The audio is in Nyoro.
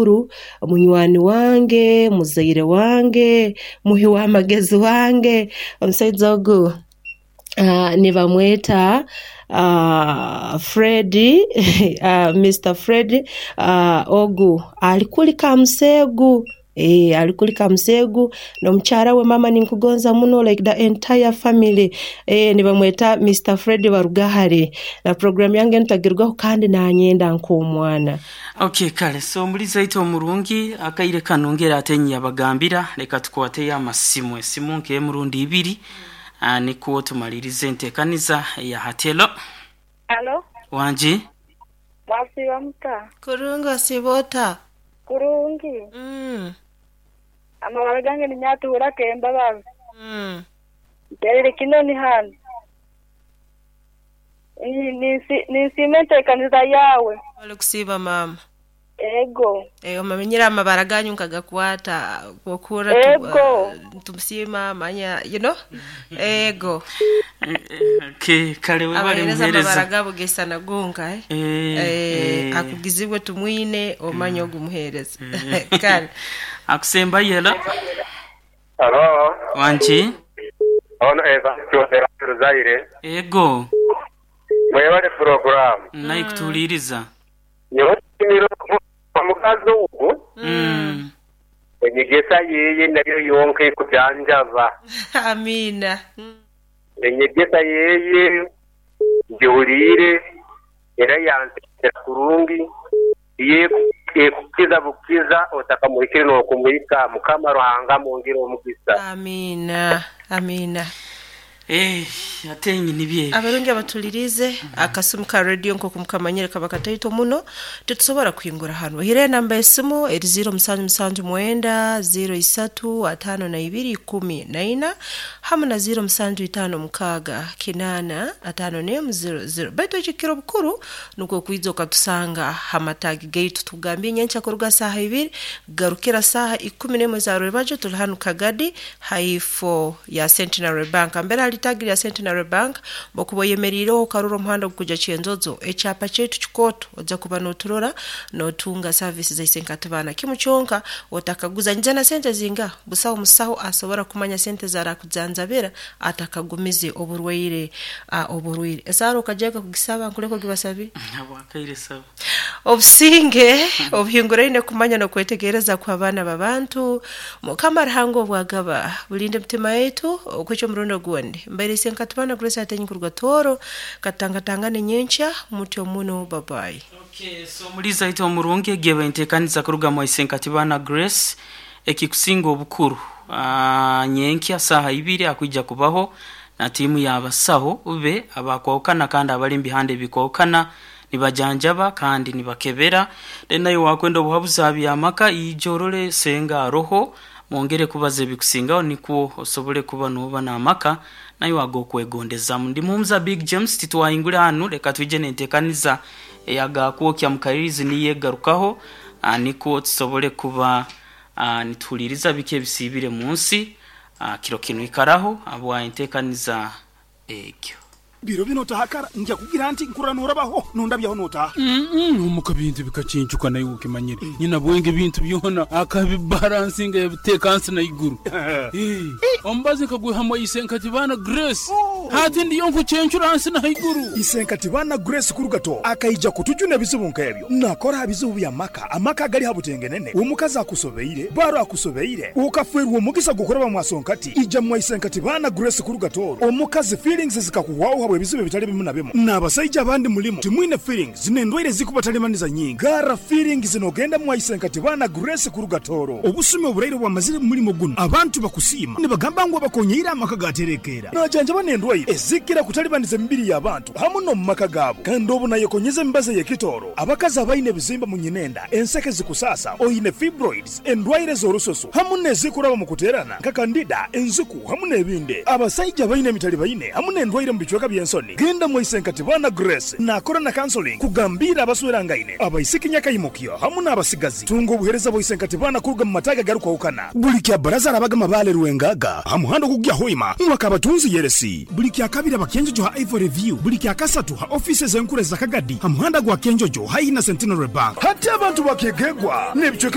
Mukuru, munywani wange, muzaire wange, muhi w'amagezi wange. Omusaija ogu nibamweta Fred, Mister Fred ogu ali kuli Kamuseegu. Eeh ali kuli Kamuseegu n'omukyara we maama ninkugonza muno like the entire family. Eeh nibamweta Mister Fred Barugahare. Na puroguraamu yange enu tagirugaho kandi nanyenda nk'omwana. Ok kale so omulizi aite omurungi akaire kano ngeri ate yabagambira leka tukwateyo amasimu esimu nk'emu rundi ibiri nikwo tumalirize entekaniza eya hati. Hello. Halo. Wangi. Mwasiiba muta? Kurungi osiiba ota? Kurungi. Amabara gange ni Nyatuhura Kembabazi. Ntereire Kinoni hanu. Ninsiima enteekaniza yaawe. Webale kusiiba maama. Ego. Omanyire amabara ganyu nkagakwata okuhurra Ego. tumusiima manya you know ego. Okay, kale webale Abahereza amabara muhereza. gabo gaisana gonka eh? Akugizibwe tumwine omanye ogu muhereza. Kale. Akusembayo hello. Halo. Wangi. Ono Evans Kyondera Ruzaire. Ego. Mwebale puroguramu. Naikutuhuliriza. Nyowe nsiimire omukazi ogu. Enyegesa yeye nayo yonka ekujanjaba. Amiina. Enyegesa yeye ngihuliire era yansekera kurungi. Yo ekukiza bukiza otakamuhikire n'okumuhika. Mukama Ruhanga amwongere omugisa. Amiina. Amiina. Eh, ate nibyo ebyo. Abarungi abatulirize akasimu ka radio nkoku mukamanyire kaba kataito muno titusobora kuhingura hanu hire enamba esimu eri 0779 03 52 14 hamu na 0756 8 51 00 baitu ekikiro bukuru nukwo kwija okatusanga hamatagi gaitu tugambye nyenkya kuruga saaha ibiri garukira saaha ikumi n'emwe za rwebajo tuli hanu Kagadi haifo ya Centenary Bank mbere hali tagi lya Centenary Bank bokuba oyemeriireho okarora omuhanda ogukuja Kyenjojo ekyapa kyaitu kikooto ojja kuba noturora notunga service zaise nkatubana kimu kyonka otakaguza nyija na sente zinga busaho musaho asobora kumanya sente zarakujanjabira atakagumize oburwaire oburwaire esaara okajaga kugisaba nkuleka ogibasabi Habwakaire saba. Obusinge obuhinguraine kumanya n'okwetegereza kw'abaana b'abantu Mukama Ruhanga obwagaba bulinde emitima yaitu okwikya omurundi ogundi mbaire nkatubana Grace Atenyi kuruga Tooro katangatangane nyenkya mutyo muno babayi. Okay, so omulizi aite omurungi egyo entekaniza kuruga mwaise Nkatibana Grace ekikusinga obukuru nyenkya saaha ibiri akwija kubaho na tiimu y'abasaho be abakwahukana kandi abali mu bihanda ebikwahukana nibajanjaba kandi nibakebera then nayo wakwenda obuhabuzi aha by'amaka ija orole senga aroho mwongere kubaza ebikusingaho nikwo osobole kuba noba n'amaka nayo ag'okwegondezamu. Ndi Muhumuza Big James titwahingura hanu leka twije n'entekaniza eyagakwokya mukalirizi niyo egarukaho nikwo tusobole kuba nituhuliriza biki ebisiibire mu nsi kiro kinu ikaraho habwa entekaniza egyo. Biro bino otahakara nja kugira nti nkurra norabaho nondabyaho notaha. Omuka bintu bikacincuka naye ukimanyire nyina bwenge bintu byona akabibalansinga yabiteeka nsi na iguru. Omubazi nkagwihamu Isenkatibana Grace. Hati ndiyo nkucencura nsi na iguru. Isenkatibana Grace kurugato akaija kutujuna ebizibu nk'ebyo nakora bizibu bya maka amaka agali habutengenene omukazi akusobeire baro akusobeire ukafwerwa omugisa gukuraba mwasonkati ija mwa Isenkatibana Grace kurugato omukazi feelings zikakuhwaho habwe ebizibu ebitali bimu na bimu n'abasaija abandi mulimu timwine feelings n'endwaire zikubatalimanisa nyingi gara feelings nogenda mwa Isenkatibana Grace kurugatoro obusumi oburaire bwamazire mu mulimo guno abantu bakusiima nibagamba ngu abakonyeire amaka gaterekeera najanjaba n'endwaire ezikira kutalibaniza emibiri y'abantu hamu n'omu maka gaabo kandi obu nayekonyeza emibazi ey'ekitooro abakazi abaine ebizimba mu nyinenda enseke zikusasa oine fibroids endwaire z'orususu hamu n'ezikuraba mu kuteerana nka kandida enziku hamu n'ebindi abasaija abaine emitali baine hamu n'endwaire mu bicweka bya by'ensoni. Genda mwaisenkati bana Grace nakora na counseling kugambira abaswerangaine, abaisiki nyakaimukyo hamu n'abasigazi. Tunga obuhereza bwaisenkati bana kuruga mu mataga garukwahukana. Buli kya baraza arabaga mabale Rwengaga ha muhanda ogugya Hoima mwaka abatunzi yeresi. Buli kya kabiri abakenjojo ha Ivory View, buli kya kasatu ha office z'enkura za Kagadi ha muhanda gwa Kenjojo haihi na Centenary Bank. Hati abantu bakegegwa n'ebicweka.